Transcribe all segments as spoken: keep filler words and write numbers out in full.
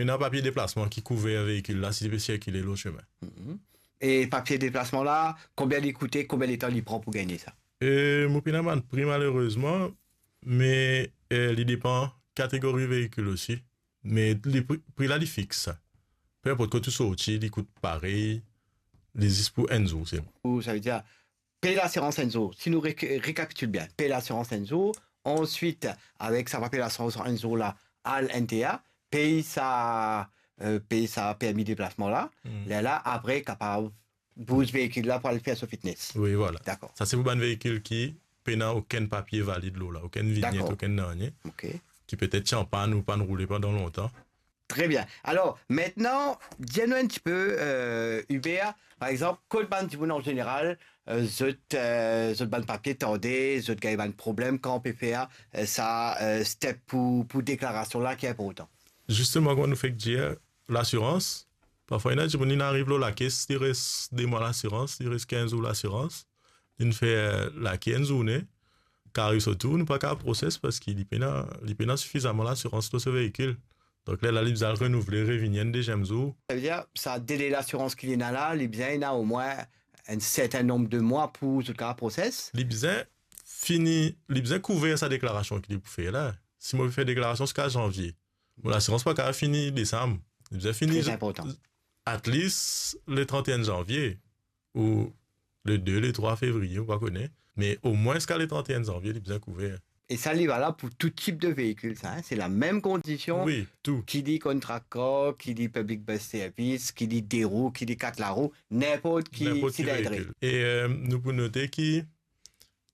ena papie deplasman ki kouver veikil la si li pe sirkile lor semin. Mhm. E papie deplasman la, konbien li koute, konbien letan li pran pou gagne sa? E mo pena bann pri malerezman, me, e, li depan kategori veikil osi. Me li pri, pri la li fix sa. Pe inport kot ou sorti, li kout parey, li zis pou enn zour selman. Ou, savedir, pey lasirans enn zour. Si nou re-, rekapitile bien, pey lasirans enn zour, answit, avek sa papie lasirans enn zour la, al N T A, pey sa, e, pey sa permi deplasman la, Hmm. lerla apre kapav bouz veikil la pou al fer so fitness. Wi, vwala. Dakor. Sa se pou bann veikil ki pena okenn papie valid lor la, okenn vinyet, Dakor. okenn nanye, Ok. ki petet ti an pann ou pann roule pandan lontan. Tre bien. Alor, mintnan, dir nou enn tipe, e, Hubert, par exanp, kot bann dimoun an zeneral, e, zot, e, zot bann papie tarde, zot gagn bann problem, kan ou pe fer, e, sa, e, step pou, pou deklarasion la ki inportan? Zisteman, kouma nou fek dir, lasirans, parfwa ena dimoun, li ariv lor lakes, li res de mwa lasirans, li res kinz zour lasirans, li fer lake enn zourne, kan ariv so tour, nou pa kapav proses parski li pena, li pena sifizaman lasirans lor so veikil. Donk, lerla li bizin al renouvle, revini enn deziem zour. Savedir, sa dele lasirans ki li ena la, li bizin ena omwin enn sertin nonb de mwa pou zot kapav proses? Li bizin fini, li bizin kouver sa deklarasion ki li pou fer la. Si mo fer deklarasion ziska zanvie, mo lasirans pa kapav fini desam. Li bizin fini Tre inportan. at least le trente et un zanvie ou le de, le trwa fevriye, mo pa kone. Me omwin ziska le trente et un zanvie, li bizin kouver. E sa, li valab pou tou tip de veikil, sa, en? Se lamem kondision, Wi, tou. ki li contract car, ki li public bus service, ki li de rou, ki li kat larou, ninport ki Ninport ki silindri. veikil. E, e, nou pou note ki,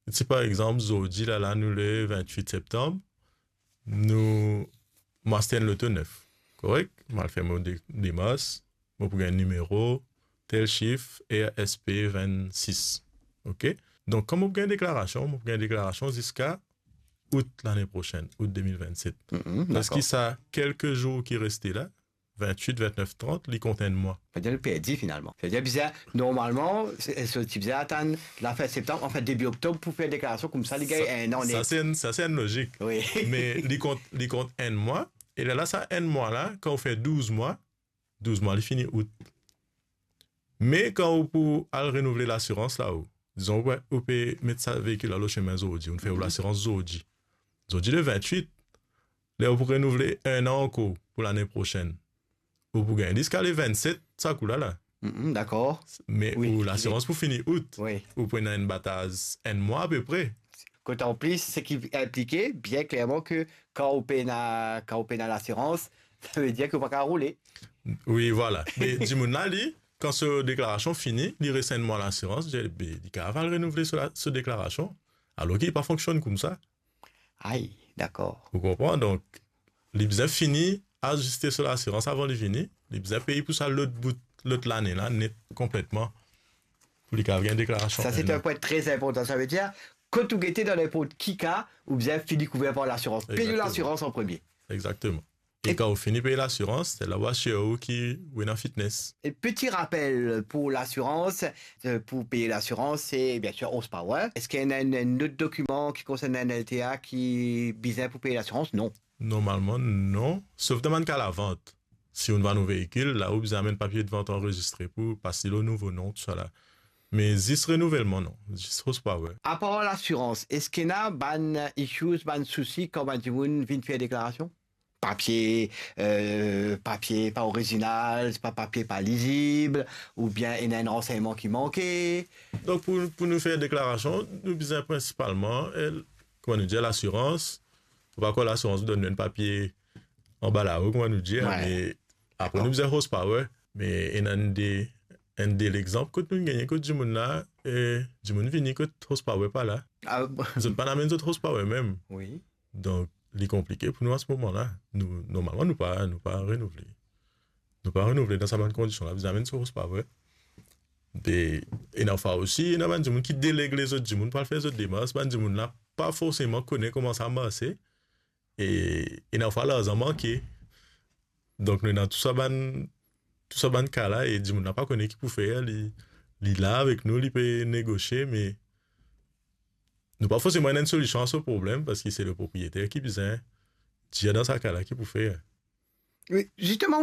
si par exanp, zordi la, la, nou le vintwit septanm, nou, mo aste enn loto nef, korek? Mo al fer mo de-, demars, mo pou gagn nimero, tel sif, R S P vennsis. Ok? Donk, kan mo pou gagn deklarasion, mo pou gagn deklarasion ziska out lane prosenn, out de mil vennset. Mhm, Parski dakor. sa kelke zour ki reste la, vintwit, vintnef, trant, li kont enn mwa. Savedir li perdi finalman. Savedir bizin, normalman, se, se ti bizin atann lafin septanm, anfin debi oktob pou fer deklarasion, koumsa li gagn Sa, enn an sa net. se enn, sa se enn lozik. Wi. Me li kont, li kont enn mwa, e lerla sa enn mwa la, kan ou fer douz mwa, douz mwa li fini out. Me kan ou pou al renouvle lasirans la, ou, dizon, ou pe, ou pe met sa veikil la lor semin zordi, ou fer ou Mhm. lasirans zordi. Zordi le vintwit, ler ou pou renouvle enn an ankor pou lane prosenn. Ou pou gagn ziska le vennset, sa kou la la. Mhm, dakor. Me Wi, ou lasirans pou fini out. Wi. Ou pou ena enn bataz enn mwa apepre. Kot anplis, seki inplike, bien klerman, ke kan ou pena, kan ou pena lasirans, sa vedir ke ou pa kapav roule. Wi, vwala. Me dimoun la, li, kan so deklarasion fini, li res enn mwa lasirans, li, be, li kapav al renouvle so la, so deklarasion, alor ki li pa fonksionn koumsa. Ay, dakor. Ou konpran? Donk, li bizin fini aziste so lasirans avan li vini. Li bizin pey pou sa lot bout, lot lane la, net, konpletman, pou li kapav gagn deklarasion Sa, se enn an. enn pwin tre inportan. Sa vedir, kot ou gete dan ninport ki ka, ou bizin fini kouver par lasirans. Pey Egzakteman. lasirans an premie. Egzakteman. E E kan ou fini pey lasirans, se la ou asir ou ki ou ena fitness. E peti rapel pou lasirans, e, pou pey lasirans, se, biensir, horsepower. Eski ena enn, enn lot dokiman ki konsern enn L T A ki bizin pou pey lasirans? Non. Normalman, non. Sof dan bann ka lavant. Si ou vann ou veikil, la ou bizin amenn papie de vant anrezistre pou pas li lor nouvo non, tousala. Me zis renouvelman, non. Zis horsepower. Apar lasirans, eski ena bann issues, bann sousi kan bann dimoun vinn fer deklarasion? Papie, e, papie pa orizinal, pa papie pa lizib, oubien ena enn ransegnman ki manke. Donk, pou, pou nou fer deklarasion, nou bizin prinsipalman, e, kouma nou dir, lasirans. Ou pa krwar lasirans pou donn nou enn papie anba lao, kouma nou dir, Wi. me apre Dakor. nou bizin horsepower, me ena enn de, enn de lexanp kot nou gagne kot dimoun la, e, dimoun vini kot horsepower pa la. Ah, bon. Zot pa amenn zot horsepower mem. Wi. Donk, li konplike pou nou an se moman la. Nou, normalman, nou pa, nou pa renouvle. Nou pa renouvle dan sa bann kondision la, bizin amenn so horsepower. De, ena fwa osi, ena bann dimoun ki deleg lezot dimoun pou al fer zot demars, bann dimoun la pa forseman kone kouma sa marse, e ena fwa larzan manke. Donk, nou ena tou sa bann, tou sa bann ka la, e dimoun la pa kone ki pou fer, li, li la avek nou, li pe negosie, me nou pa forseman ena enn solision a so problem, parski se le propriyeter ki bizin dir dan sa ka la ki pou fer. Wi, zisteman,